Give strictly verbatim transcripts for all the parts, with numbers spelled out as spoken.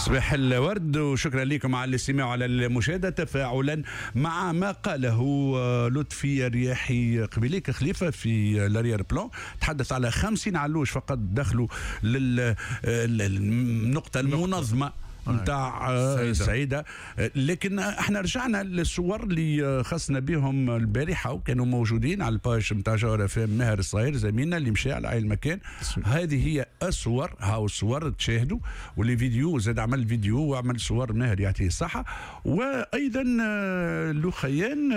صباح الورد وشكرا لكم على الاستماع وعلى المشاهده. تفاعلا مع ما قاله لطفي الرياحي قبيليك خليفة في l'arrière-plan، تحدث على خمسين علوش فقط دخلوا للنقطة المنظمة نتاع السعيده، لكن احنا رجعنا للصور اللي خصنا بهم البارحة وكانوا موجودين على ال page نتاع جوهرة اف ام. ماهر الصغير زميلنا اللي مشى على عين المكان، هذه هي الصور، هاو الصور تشاهدوا و les vidéos، زاد عمل فيديو وعمل صور ماهر يعطيه الصحه. وايضا لخيان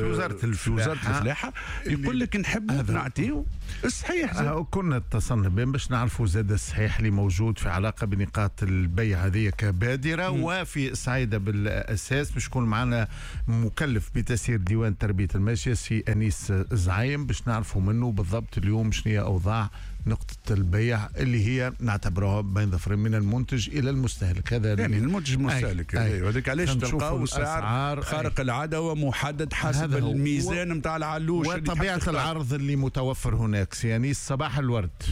في وزارة في وزارة الفلاحة يقول لك نحب نعطيه الصحيح. كنا اتصلنا بهم باش نعرفوا زاد الصحيح اللي موجود في علاقة بنقاط البيع هذه كبادرة. مم. وفي السعيدة بالأساس باش يكون معنا مكلف بتسيير ديوان تربية الماشية سي أنيس زعيم باش نعرفوا منه بالضبط اليوم شنو هي أوضاع نقطة البيع اللي هي نعتبرها بين ظفرين من المنتج إلى المستهلك. هذا يعني المنتج المستهلك، أيوه هذاك علاش تلقاو سعر خارق العادة ومحدد حسب الميزان نتاع العلوش وطبيعة العرض اللي متوفر هناك. سي أنيس صباح الورد.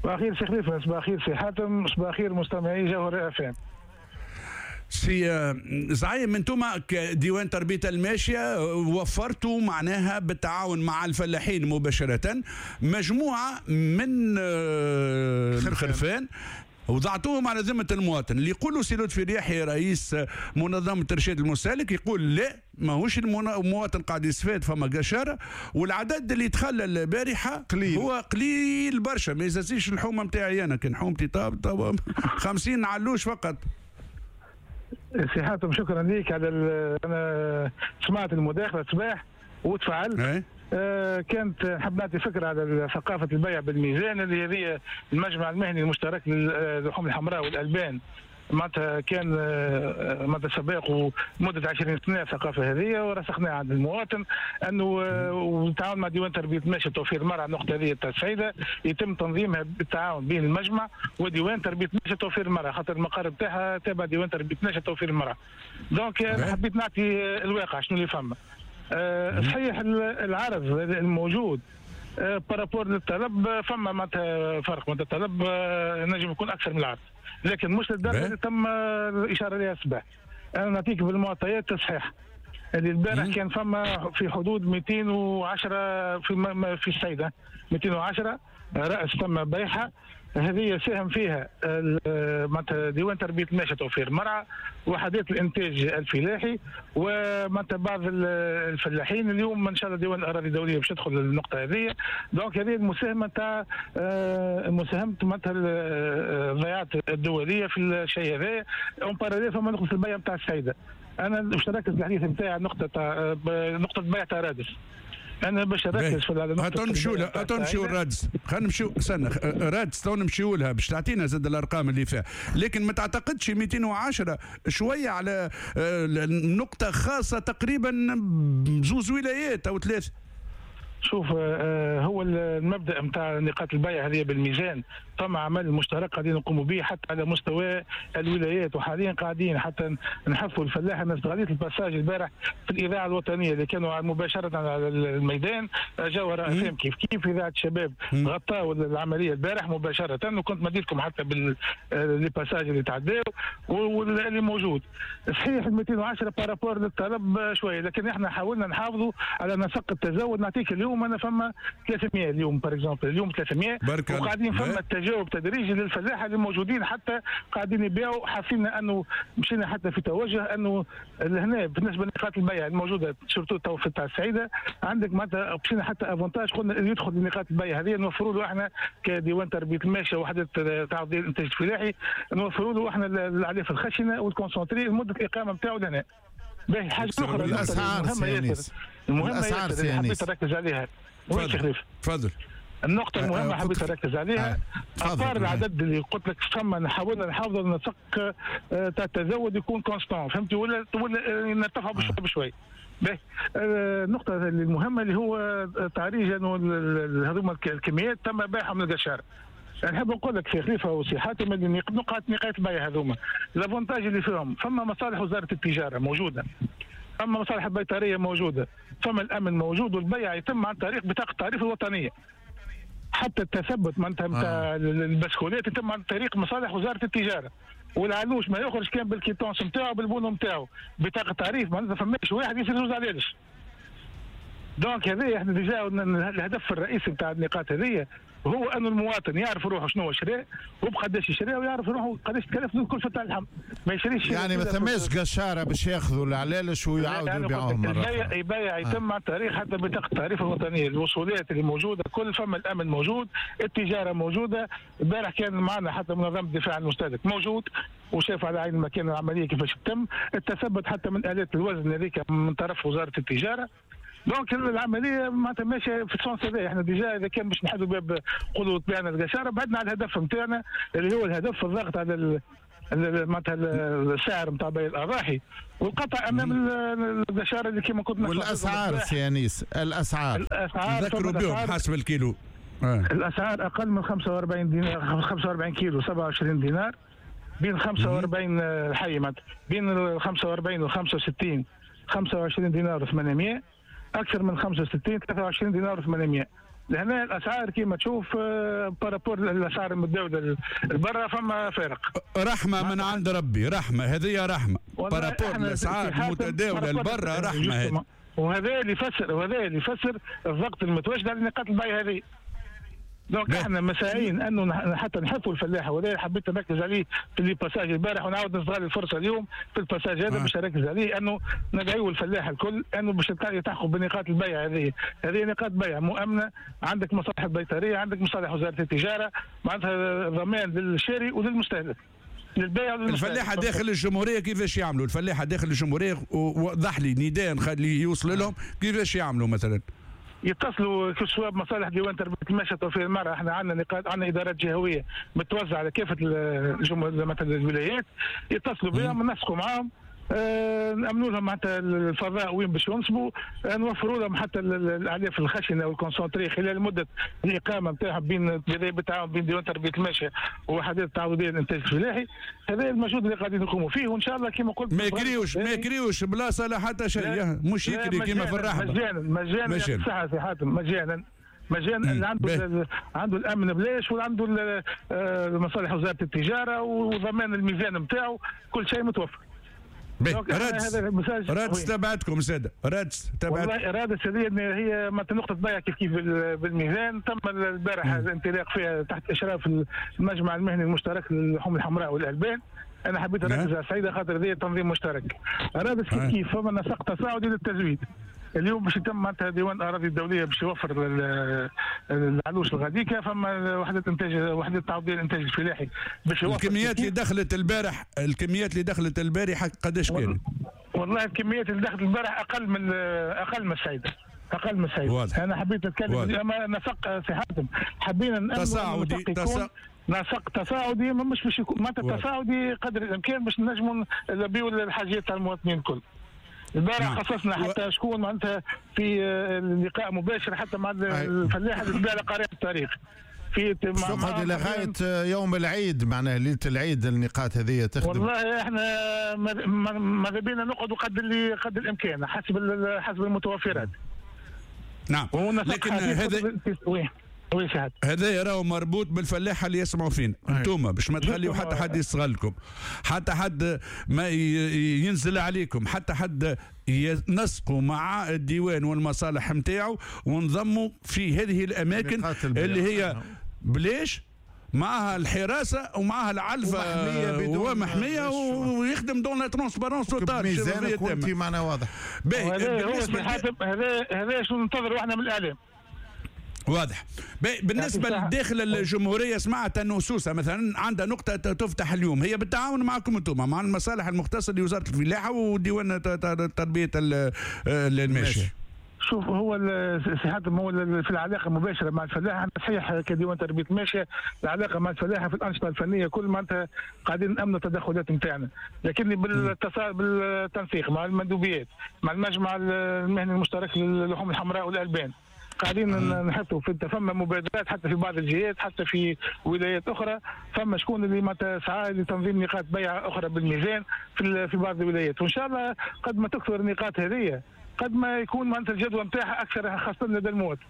صباح الخير سي خليفة، صباح الخير سي حاتم، صباح الخير مستمعي جوهرة اف ام. سي زعيم، انتم كديوان تربية الماشية وفرتوا معناها بالتعاون مع الفلاحين مباشرة مجموعة من الخرفان وضعتوهم على ذمة المواطن. اللي يقولوا سي لطفي الرياحي رئيس منظمة إرشاد المستهلك يقول لا، ماهوش المواطن قاعد يستفاد، فما قشارة، والعدد اللي تخلى البارحة قليل، هو قليل برشا، ما يزازيش الحومة نتاعي أنا، كان حومتي طاب طاب خمسين علوش فقط. سي حاتم شكرا ليك على انا سمعت المداخلة الصباح وتفعلت. آه كانت نحب نعطي فكرة على ثقافة البيع بالميزان اللي هذه المجمع المهني المشترك للحوم الحمراء والالبان معناتها كان معناتها سباق مده عشرين سنة الثقافة هذه ورسخناها عند المواطن انه وبالتعاون مع ديوان تربيه الماشية توفير المرعى النقطة هذه تاع السعيدة يتم تنظيمها بالتعاون بين المجمع وديوان تربيه الماشية توفير المرعى، خاطر المقر بتاعها تابع ديوان تربيه الماشية توفير المرعى. donc انا حبيت نعطي الواقع شنو اللي فما. أه صحيح العرض الموجود par rapport للطلب فما معناتها فرق، معناتها الطلب نجم يكون اكثر من العرض، لكن مش للدرجة اللي تم الاشارة لها الصباح. انا نعطيك بالمعطيات الصحيحة اللي البارح كان فما في حدود مئتين وعشرة في في السيدة مئتين وعشرة راس تم بيعها، هذه ساهم فيها معناتها ديوان تربيه الماشية توفير المرعى، وحدات الانتاج الفلاحي، ومعناتها بعض الفلاحين. اليوم ان شاء الله ديوان الاراضي الدولية باش تدخل للنقطة هذه. donc هذه المساهمة تاع مساهمة معناتها الضيعات الدولية في الشيء هذا. en parallèle فما نقطة البيع نتاع السيدة. انا باش نركز الحديث نتاعي على نقطة تاع نقطة بيع تاع رادس. انا باش نركز في النقطة. نمشيو لها، نمشيو لرادس، خلينا نمشيو استنى رادس تو نمشيو لها باش تعطينا زاد الارقام اللي فيها، لكن ما تعتقدش مئتين وعشرة شوية على نقطة خاصة تقريبا بزوز ولايات او ثلاثة؟ شوف هو المبدا نتاع نقاط البيع هذه بالميزان فما عمل مشترك قاعدين نقوموا به حتى على مستوى الولايات، وحاليا قاعدين حتى نحثوا الفلاح. انا استغليت ال passage البارح في الاذاعة الوطنية اللي كانوا مباشرة على الميدان جوهرة اف ام كيف كيف اذاعة الشباب غطاوا العملية البارح مباشرة، وكنت مديتكم حتى بال les passages اللي تعداو واللي موجود. صحيح مئتين وعشرة par rapport للطلب شوية، لكن احنا حاولنا نحافظوا على نسق التزود. نعطيك اليوم انا فما ثلاثمية اليوم par exemple، اليوم ثلاثمية وقاعدين فما التجاوب تدريجي للفلاحه اللي موجودين حتى قاعدين يبيعوا. حاسين انه مشينا حتى في توجه انه هنا بالنسبة لنقاط البيع الموجودة surtout تو في تاع السعيدة عندك معناتها مشينا حتى avantage، قلنا اللي يدخل لنقاط البيع هذه نوفروا له احنا كديوان تربيه الماشية وحده تعاون الانتاج الفلاحي نوفروا له احنا العليف الخشنة وال concentré لمدة الاقامة نتاعو لهنا. باهي حاجة اخرى الاسعار المهمة المهمة ياسر حبيت نركز عليها. تفضل تفضل. النقطة المهمة حبيت نركز عليها à part العدد اللي قلت لك فما حاولنا نحافظوا النسق تاع التزود يكون constant، فهمتي، ولا ولا نرتفعوا بشوي بشوي. باهي النقطة المهمة اللي هو تعريج انه هذوما الكميات تم بيعها من القشار. نحب نقول لك في خليفة وسي حاتم اللي نقاط نقاط البيع هذوما l'avantage اللي فيهم فما مصالح وزارة التجارة موجودة، فما مصالح البيطريه موجودة، فما الامن موجود، والبيع يتم عن طريق بطاقة التعريف الوطنية. حتى التثبت معناتها نتاع آه. البسكولات يتم عن طريق مصالح وزارة التجارة. والعلوش ما يخرج كان بال quittance نتاعو بال bon نتاعو، بطاقة تعريف، معناتها فماش واحد يصير زوز علالش. donc هذا احنا déjà الهدف الرئيسي نتاع النقاط هذه هو انه المواطن يعرف روحه شنو شرى وبقداش يشري، ويعرف روحه قداش تكلف الكلفة تاع اللحم، ما يشريش. يعني ما ثماش قشاره باش ياخذوا العلالش ويعاودوا يبيعوهم مرة اخرى. البيع يتم عن طريق حتى بطاقة التعريف الوطنية، الوصولات اللي موجودة كل، فما الامن موجود، التجارة موجودة. البارح كان معنا حتى منظمة الدفاع عن المستهلك موجود وشاف على عين المكان العملية كيفاش تتم، التثبت حتى من الات الوزن هذيك من طرف وزارة التجارة. donc العملية معناتها ماشية في ال sens هذا. احنا déjà اذا كان باش نحلوا باب نقولوا طبعنا القشاره، بعدنا على الهدف نتاعنا اللي هو الهدف الضغط على معناتها السعر نتاع بيع الاضاحي والقطع امام القشاره اللي كما كنت. والاسعار سي انيس، الاسعار الاسعار ذكروا بهم حسب الكيلو. آه. الاسعار اقل من خمسة وأربعين دينار، خمسة وأربعين كيلو سبعة وعشرين دينار، بين خمسة وأربعين الحي معناتها بين خمسة وأربعين و خمسة وستين خمسة وعشرين دينار وثمانمية، اكثر من خمسة وستين ثلاثة وعشرين دينار وثمانمية. لهنا الاسعار كما تشوف par rapport الاسعار المتداولة البرة فما فارق. رحمه من عند ربي، رحمه هذه رحمه par rapport الاسعار المتداولة البرة، رحمه هذه. وهذا اللي يفسر وهذا اللي يفسر الضغط المتواجد على نقاط البيع هذه. donc احنا مساعين انه حتى نحثوا الفلاحة، وهذا حبيت نركز عليه في les passages البارح ونعاود نستغل الفرصة اليوم في ال passage هذا باش نركز عليه، انه ندعيو الفلاح الكل انه باش يلتحقوا بنقاط البيع هذه. هذه نقاط بيع مؤمنة، عندك مصالح البيطريه، عندك مصالح وزارة التجارة، معناتها ضمان للشاري وللمستهلك. للبيع الفلاحة داخل الجمهورية كيفاش يعملوا؟ الفلاحة داخل الجمهورية وضح لي نداء نخليه يوصل لهم كيفاش يعملوا مثلا؟ يتصلوا سواء بمصالح ديوان تربيه الماشية توفير المرأة. احنا عندنا نقاط، عندنا ادارات جهويه متوزعة على كافة الجمهور مثلا الولايات، يتصلوا بهم، نسقوا معاهم، اه نامنوا لهم حتى الفضاء وين باش ينصبوا، نوفروا لهم حتى الاعلاف الخشنة وال concentré خلال مده الاقامة نتاعهم بين بالتعاون بين ديوان تربيه الماشية ووحدات التعاضديه للانتاج الفلاحي. هذا المجهود اللي قاعدين نقوموا فيه، وان شاء الله كما قلت ما يكريوش ما يكريوش بلاصة لا حتى شيء، مش يكري كما في الرحبه. مجانا مجانا صحة سي حاتم، مجانا مجانا. اللي عنده عنده الامن بلاش، وعنده مصالح وزارة التجارة وضمان الميزان نتاعو، كل شيء متوفر. رادس رادس تبعتكم ساده، رادس تبعتكم. والله رادس هذه هي نقطة بيع كيف كيف بالميزان، تم البارح الانطلاق فيها تحت اشراف المجمع المهني المشترك للحوم الحمراء والالبان. انا حبيت اركز على السعيدة خاطر هذه تنظيم مشترك. رادس كيف كيف فما نسق تصاعدي للتزويد. اليوم باش يتم معناتها ديوان الاراضي الدولية باش يوفر العلوش الغاديكا، فما وحده انتاج، وحده التعاضديه للانتاج الفلاحي باش يوفر. الكميات اللي دخلت البارح، الكميات اللي دخلت البارحة قداش كانت؟ والله الكميات اللي دخلت البارح اقل من اقل من السعيدة، اقل من السعيدة. واضح. انا حبيت اتكلم اما نسق سي حاتم، حبينا تصاعدي تصا... نسق تصاعدي، مش باش يكون معناتها تصاعدي قدر الامكان باش نجموا نلبيو الحاجات تاع المواطنين الكل. البارح نعم. خصصنا حتى شكون معناتها في لقاء مباشر حتى مع الفلاح اللي تبيع على قارعة الطريق في تقعد الى غاية يوم العيد، معناها ليلة العيد النقاط هذه تخدم. والله احنا ماذا بينا نقعدوا قد اللي قد الامكان حسب حسب المتوفرات. نعم، لكن هذا هذا راهو مربوط بالفلاحه اللي يسمعوا فينا انتوما، باش ما تخليوا حتى حد يستغلكم، حتى حد ما ينزل عليكم، حتى حد ينسقوا مع الديوان والمصالح نتاعو ونضموا في هذه الاماكن اللي هي بلاش معها الحراسة ومعها العلفه ومحميه ويخدم dans la transparence totale. ميزانك وانت معنا واضح. باهي بالنسبة هذا هذا شنو ننتظروا احنا من الاعلام. واضح. بالنسبة لداخل الجمهورية سمعت انه سوسة مثلا عندها نقطة تفتح اليوم، هي بالتعاون معكم انتم مع المصالح المختصة لوزارة الفلاحة وديوان تربيه الماشية. شوف هو سي حاتم هو في العلاقة المباشرة مع الفلاح، صحيح كديوان تربيه الماشية العلاقة مع الفلاحة في الانشطة الفنية كل معناتها قاعدين نامنوا التدخلات نتاعنا، لكن بالتصال بالتنسيق مع المندوبيات مع المجمع المهني المشترك للحوم الحمراء والالبان قاعدين نحطوا في فما مبادرات حتى في بعض الجهات حتى في ولايات اخرى، فما شكون اللي ما تسعى لتنظيم نقاط بيع اخرى بالميزان في في بعض الولايات، وان شاء الله قد ما تكثر النقاط هذه قد ما يكون معناتها الجدوى نتاعها اكثر خاصة لدى المواطن.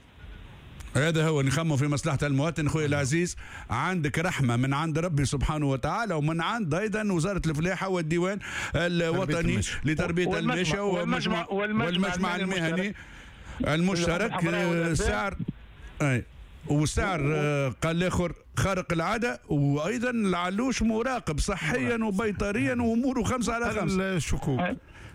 هذا هو، نخمم في مصلحة المواطن. خويا العزيز، عندك رحمة من عند ربي سبحانه وتعالى ومن عند أيضا وزارة الفلاحة والديوان الوطني لتربية الماشية والمجمع والمجمع المهني المشترك. سعر أي وسعر قال الاخر خارق العادة، وايضا العلوش مراقب صحيا وبيطريا واموره خمسة على خمسة. الشكوك.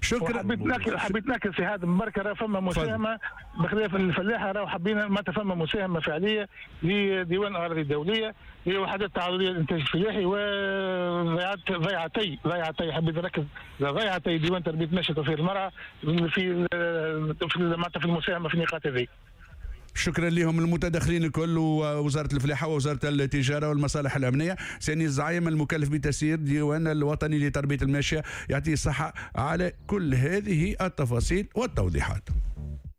شكرا. حبيت ناكل حبيت ناكل في هذا المباركة، راه فما مساهمة بخلاف الفلاحة، راه حبينا ما فما مساهمة فعليه لديوان الاراضي الدولية، لوحدات التعاضديه للانتاج الفلاحي، وضيعتي ضيعتي ضيعتي حبيت نركز ضيعتي ديوان تربيه الماشية وتوفير المرعى في في في المساهمة في النقاط هذه. شكرا لهم المتدخلين الكل، ووزارة الفلاحة ووزارة التجارة والمصالح الأمنية. ساني الزعيم المكلف بتسيير ديوان الوطني لتربية الماشية، يعطيه الصحة على كل هذه التفاصيل والتوضيحات.